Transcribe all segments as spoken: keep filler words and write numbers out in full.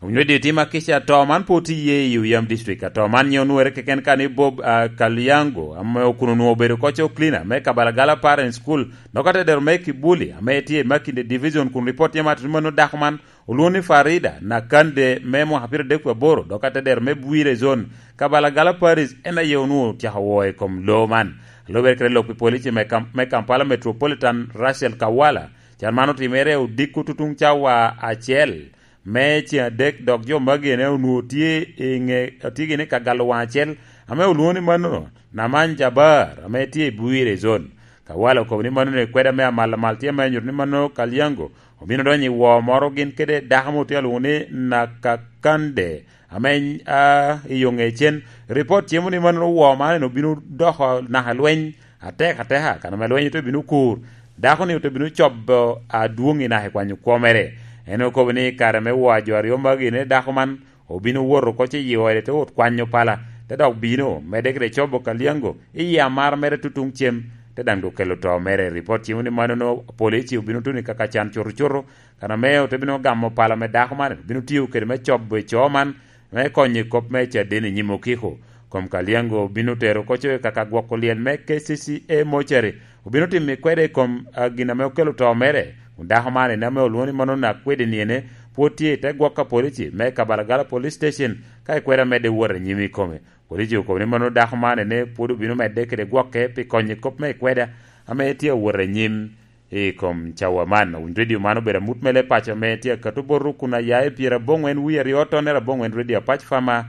Onyo di tima kica to man po tye iye i Uyam District. Ato man nyo onwere keken ka ni Bob, ah, Kalyango, ame okuno onwoŋo obedo koc o cleaner me Kabalagala Parent School, dok atedero me Kibuli, ame tye i Makinde Division, kun report tye ma atito mano dako man olwoŋo ni Farida Nakande me mwaka pyero adek wie aboro, dok atedero me Bwire Zone, Kabalagala Parish, en aye onwoŋo ocako woo i kom loo man. Alubere kede lok pi polici me Kam-, me Kampala Metropolitan, Rachel Kawala, can man otimere odiko tutuŋ cawa acel me ceŋ adek, dok jo magi ene onwoŋo tye i ŋe, tye gini ka galo waŋ acel, ame olwoŋo ni mano Naman Jabar, ame tye i Bwire Zone. Kawala okobo ni mano ni kweda me amal amal tye ame nyuto ni mano Kalyango obino donyo i woo moro gin kede dako mo tye alwoŋo ni Nakakande, ame, a, i yo ŋecen. Ripot cimo ni mano woo man obino doko naka lweny atek ateka, kan ame lweny ote bino kur, dako-ni ote bino cobo adwoŋ i naka i kwanyo kwo mere. En okobo ni kare me woo a jo aryo magi, ine dako man obino wot oko ce yio ede te wot kwanyo pala, te dok bino, medde kede cobo Kalyango i yie amara mere tutuŋ cem, te daŋ dok kelo to mere. Ripot cimo ni mano no polici obino tuno i kaka can cuto cuto, kan ame ote bino gamo pala me dako man, obino tiyo kede me cobo i coo man, me konyo i kop me caden i nyim okiko. Kom Kalyango obino tero koco i kaka gwoko lyel me K C C A mortuary, obino timo i kwede i kom, a, gin ame okelo to mere. Kun dako man ene ame olwoŋo ni mano Nakwede ni ene pwod tye i te gwok a polici me Kabalagala Police Station, ka i kwede amedde wot anyim i kome. Polici okobo ni mano dako man ene pwod obino medde kede gwokke pi konyo i kop me i kweda ame tye awot anyim i kom cawa man. Owiny redio man obedo amut mele paco ame tye akato boto kun aya i pyera aboŋwen wie aryo tonnere aboŋwen redio Apac Fama,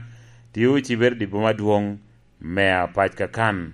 tye ocibere di boma adwoŋ me Apac Kakan.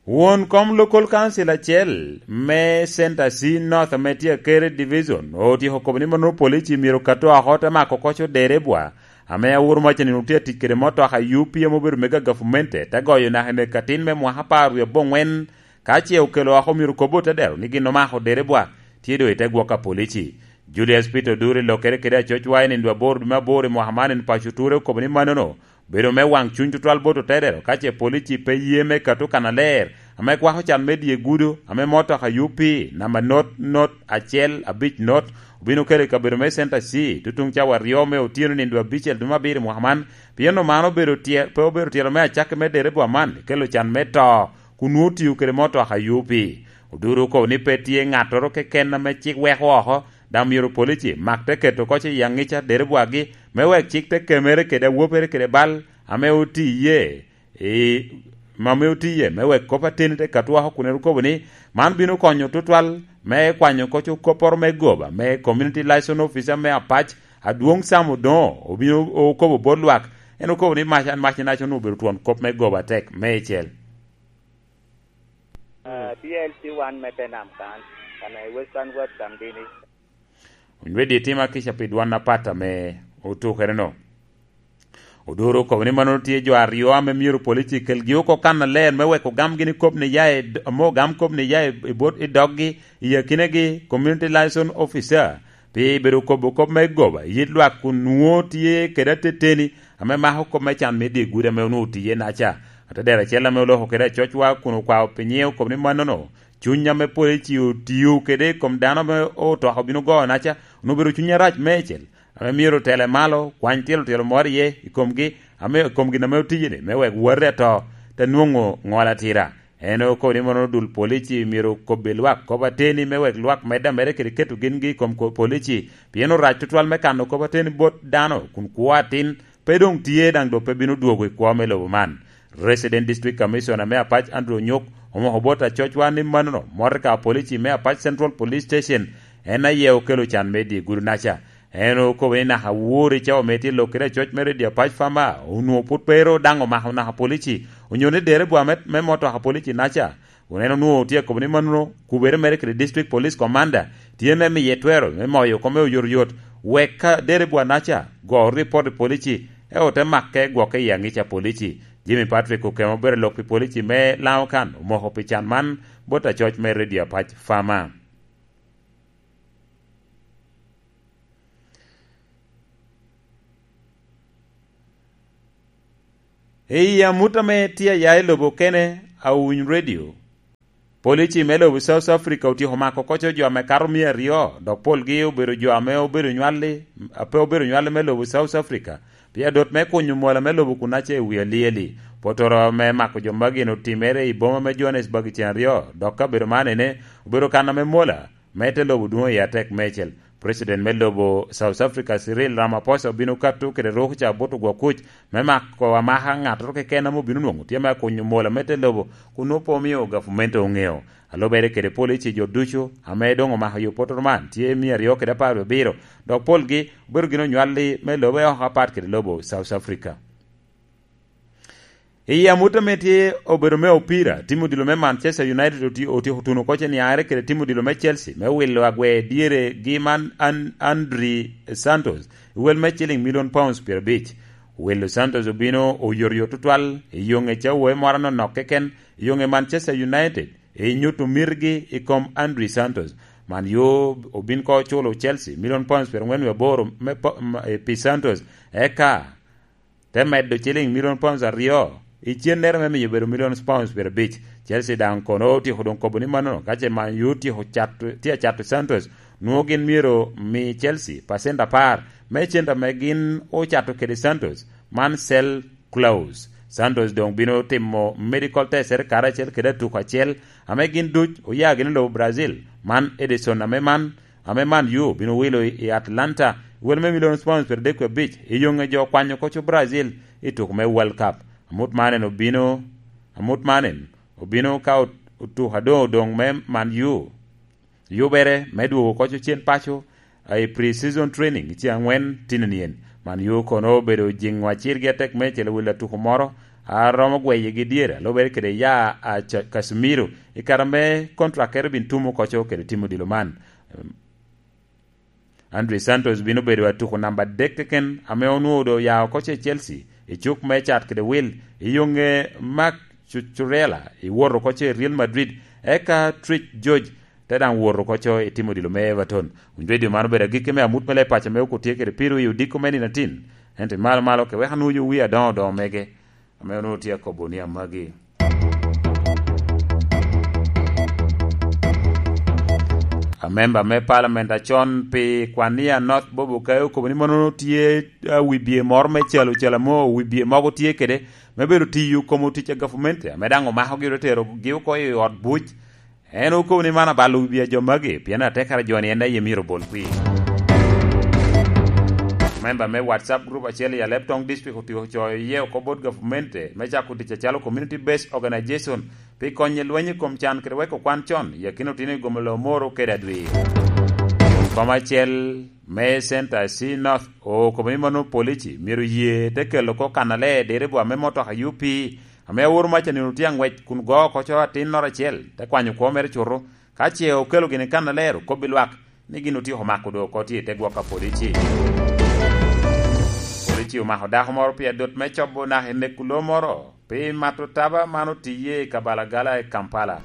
Won kom Local Council acel me Center C North ame tye Akere Division otyeko kobo ni mono polici myero okat oko te mako koc oderebwa ame awuro mac nino tye atic kede motoka U P ame obedo mega gavumente te goyo naka i nek atin me mwaka apar wie aboŋwen, ka ce okelo oko myero kobo te dero ni gin omako oderebwa tye doŋ i te gwok a polici. Julius Peter Oduri, lokere kede acocwa i nindo aboro dwe me aboro i mwaka man, en paco ture okobo ni manono bedo me waŋ cuny tutwal bot otedero ka ce polici pe ye me kato kannaler ame kwako can me dye gudo ame motoka U P namba not not acel abic not obino kelo i kabedo me Center C tutuŋ cawa aryo me otyeno nindo abicel dwe me abiro i mwaka man, pien omano obedo tye-, pe obedo tyelo me acakki me derebwa man kelo can me to kun nwoŋo otiyo kede motoka U P. Oduro okobo ni pe tye ŋattoro keken ame cik weko oko, daŋ myero polici mak te keto koc i aŋica derebwagi me wek cik te kemere kede awopere kede bal ame oti iye, i, ame oti iye, me wek kop ateni te kat woko kun en okobo ni man bino konyo tutwal me kwanyo koc okopporo me goba me Community Liaison Officer me Apac, Adwoŋ Sam Odoŋo, obino okobo bot lwak. En okobo ni mac, an mac i nac onwoŋo obedo twon kop me goba atek. Meicel. Ah, P L C one me Tenam kan, kan i Western West Kambini. Onyweddi itima kica pi dwan apat ame otukere-no. Oduro okobo ni mano tye jo aryo ame myero polici kelgi oko kannaler me weko gamgi ni kop ni ya i d-, ame ogam kop ni ya i, i bot, i doggi, i akinegi, community liaison officer, pi bedo kobo kop me goba i yit lwak kun nwoŋo tye kede ateteni ame mako kop me can me dye gudo ame onwoŋo otiye naca. Atedero acel ame oloko kede acocwa kun okwao pi nyiŋe okobo ni mannono, cuny ame polici otio kede i kom dano ame otoka obino goyo naca, onwoŋo obedo cuny arac meicel, ame myero otele malo, kwany tyelo tyelo moro iye i komgi, ame i kom gin ame otiye-ni, me wek wati ato te nwoŋo ŋol atira. En okobo ni mono odul polici myero okobbi lwak kop ateni me wek lwak medde ameda kede keto gingi i kom ko-, polici, pien orac tutwal me kano kop ateni bot dano, kun kwo atin pe doŋ tye, daŋ doŋ pe bino dwogo i kwo me lobo man. Resident District Commissioner me Apac Andrew Onyok omoko bot acocwa ni manono, motoka polici me Apac Central Police Station en aye okelo can me dye gudo naca. En okobo ni naka wor i cawa me tye lok kede acoc me redio Apac Fama, onwoŋo pwod pe ru daŋ omako naka polici, onyo ni derebwa me, me motoka polici naca, kun en onwoŋo tye akobo ni mannono kubere mere kede District Police Commander tye me miye twero me moyo kome oyotoyot, wek ka derebwa naca go ripot i polici, eo te make gwoke i aŋica polici. Jimmy Patrick Okemo obedo lok pi polici me Laŋo kan omoko pi can man bot acoc me redio Apac Fama. I amut ame tye aya i lobo kene, Awuny Radio, Polici me lobo South Africa otyeko mako koco jo ame kato mia aryo, dok polgi obedo jo ame obedo nywalli, a pe obedo nywalli me lobo South Africa. Pi adot me kunyo mola me lobo kun ace i wi alieli. Potoro me mako jo magi otimere i boma me Johannesburg i cen aryo, dok kabedo man ene obedo kan ame mola me te lobo dwoŋ i atek meicel. President me lobo South Africa, Cyril Ramaphosa, obino kato kede ruk ca bot ogwok kuc me mako amaka ŋattoro keken ame obino nwoŋo tye me akunyo mola me te lobo, kun nwoŋo pe omio gavumenti oŋeo. A lubere kede polici, jo ducu ame doŋ omako yo potoro man tye mia aryo kede apar wie abiro, dok polgi obedo gin onywalli me lobe oko apat kede lobo South Africa. I amut ame tye obedo me opira, tim odilo me Manchester United oti-, otyeko tuno oko ce niaŋere kede tim odilo me Chelsea me wilo agwe dyere gi man An-, Andri Santos, i wel me ciling milion pounds pyerabic. Wilo Santos obino oyotoyot tutwal i yoŋe ca owoe moro anonok keken, i yoŋe Manchester United, i nyuto mitgi i kom Andri Santos. Man yo obin ko culo Chelsea milion pounds pyerangwen wie aboro me po-, m-, e, pi Santos, eka te medo ciling milion pounds aryo i cennere me miyo bedo milion pounds pyerabic. Chelsea daŋ kono otyeko doŋ kobo ni mannono, ka ce Man U otyeko cato, tye acato Santos, nwoŋo gin myero mi Chelsea pacent apar me cente ame gin ocato kede Santos, man sell clause. Santos doŋ bino timo medical test ere karacel kede atuko acel ame gin duc oya gini lobo Brazil, man Ederson ame man ame Man U bino wilo i, i Atlanta, wel me milion pounds pyerabicel, i yoŋe jo okwanyo koco Brazil i tuko me World Cup. Amut man en obino, amut man en obino ka ot-, otuko adoŋ odoŋ me Man U. Yubere me dwogo koco cen paco, a, i pre-season training i ceng angwen tino nien. Man U kono obedo jiŋo acirgi atek me celo wil atuko moro a romo gweyegi dyere, a lubere kede ya a Ca-, Casemiro, i kare me kontrakere bin tumo koco kede timo dilo man. Andre Santos bino bedo atuko namba adek keken ame onwoŋo doŋ oya oko ce Chelsea i cuk me cat kede wil, i yoŋe Marc Cu-, Cucurella i wot oko ce Real Madrid, eka Trick George te daŋ wot oko co i timo dilo me Everton. Winy redio man obedo agikki me amut me leb paco me oko tye kede piro i odiko me nino atin, ento i malo malo ke wek anwoŋo wi adoŋo doŋo mege. Ame onwoŋo tye akobo ni amagi. Amemba me Parliament acon pi Kwania North Bob Okayo okobo ni mono tye, a, wibye moro me calo calo mo, wibye mogo tye kede me bedo tiyo kom otic a gavumenti, ame daŋ omakogi ote terogi oko i ot buc. En okobo ni man abalo wibi a jo magi, pien atekere jo ni en daŋ ye myero obol kwir. Memba me WhatsApp group acel i Alep Tong District otyeko coyo iye oko bot gavumenti me cako tic acalo Community Based Organization pi konyo i lweny i kom can kede weko kwan con i akina otino i gomolo moro kede adwi. Kom acel me Center C North okobo ni mano polici myero ye te kelo oko kannaler diribu ame motoka U P ame aworo mac a nino tye aŋwec kun go oko co atinnoro acel, te kwanyo kwo mere cuto. Ka ce okelo gini kannaler, okobbi lwak ni gin otyeko mako doŋ oko tye i te gwok a polici. Polici omako dako moro pi adot me cobo naka i neko lo moro pi mato taba man otiye i Kabalagala i Kampala,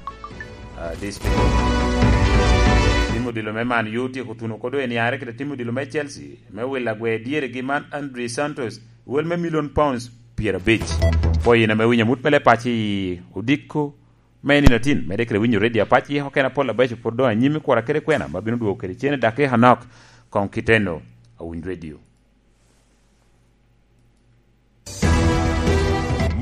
a, district. Tim odilo me Man U otyeko tuno oko doŋ i niaŋere kede tim odilo me Chelsea me wilo agwe dyeregi man Andre Santos, wel me milion pounds pyerabic. Pwoyo in ame winyo amut me leb paco i odiko me nino atin, medde kede winyo redio apac yiko kena pol abeco pwod doŋ anyim i kura kede kwena ma bino dwogo kede cene dakika anok. Koŋ kiteno, awiny redio.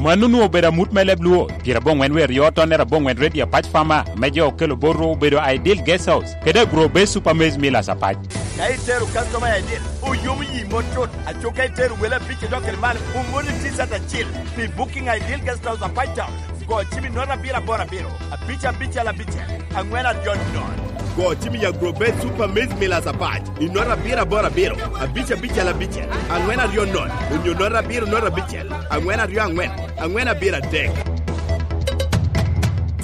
Mano onwoŋo obedo amut me leb Luo, pyeraboŋwen wie aryo tonnere aboŋwen redio apac Fama, me jo okelo botwu obedo Ideal Guest House, kede Agro Base Super Maize Millers apac. Ka itero customer I D, oyomo yi mot tut. Aco ka itero wele abic idok kede malo, omoni T-shirt acil pi booking Ideal Guest House apac town. Go cim i note abiro aboro abiro, abic abicel abicel, angwen aryo nono. Go cim i Agro Base Super Maize Millers apac i note abiro aboro abiro, abic abicel abicel, angwen aryo nono, onyo note abiro note abicel, angwen aryo angwen, angwen abiro adek.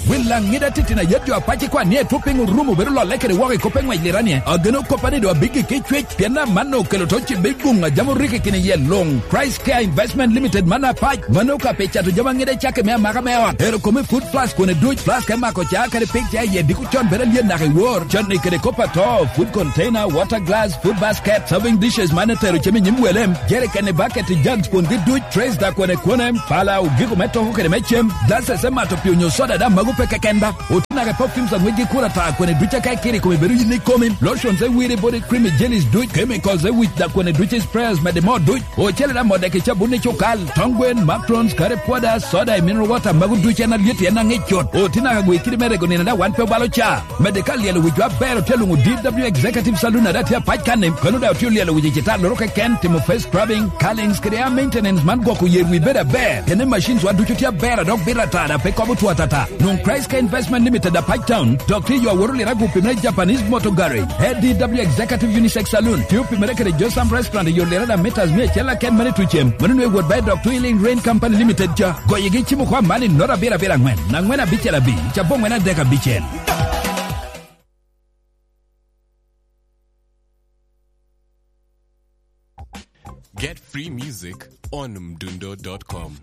Wil Laŋida titino ayet jo apac i kwan ni etwo piny orumo bedo lolle kede woko i kop eŋwec liranie. Ageno koppa ni doŋ abiggi ki cwec, pien amanno okelo to cibbe guŋ a jam orikki kine iye luŋ. Christ Care Investment Limited man apac, mano ka pi cato jami aŋida cakke me amaka me ot. Ero kome food flask kone duc, flask me mako ca kede pik ca iye diko con bedo alyet naka i wor. Cotni kede kop ato, food container, water glass, food basket, serving dishes man etero cem i nyim wele, jerikeni, baketi, jugs, kwongi duc, trays da kwene kwene, pala, ogiko me toko kede me cem, glasses me mato pii onyo soda da mago pe keken ba. Naka perfumes ang'wec gi kuro ata, kwene duc aka ikiro i kome bedo yin ikomi. Lotions e wire, body cream, jellies duc, chemicals e wic, dok kwene duc i sprayers mede moo duc. Ocele da modde ki cabun i cukal, tong gwen, macrons, curry powder, soda, i mineral water, magu duc en alyet, en aŋic cut. Oti naka gwe kidi me rego nino da, wan pe obalo ca. Mede ka lyelo wicwa aber, otye alwoŋo D W Executive Saloon, ada tye apac kanni. Kono da otye olyelo wic i cita loro keken, timo face scrubbing, curlings, kede hair maintenance man gwoko yer wi bedo aber. Kene machines wa ducu tye aber, a dok bito ata, da pe kobo two atata. Nwoŋ Christ Care Investment Limited, Apac Town, dok tye yo awot Lira, gupimere Japanese Motor Garage. A D W Executive Unisex Saloon, tye opimere kede Josam Restaurant i yo Lira da meters mia acel aken mene tucem. Mano nwe wot bae dok Twin Link Rain Company Limited ca. Goyigi cimo kwa man i nota abiro abiro aŋwen, aŋwen abicel abic, cabon ŋwen adek abicel. Get free music on mdundo dot com.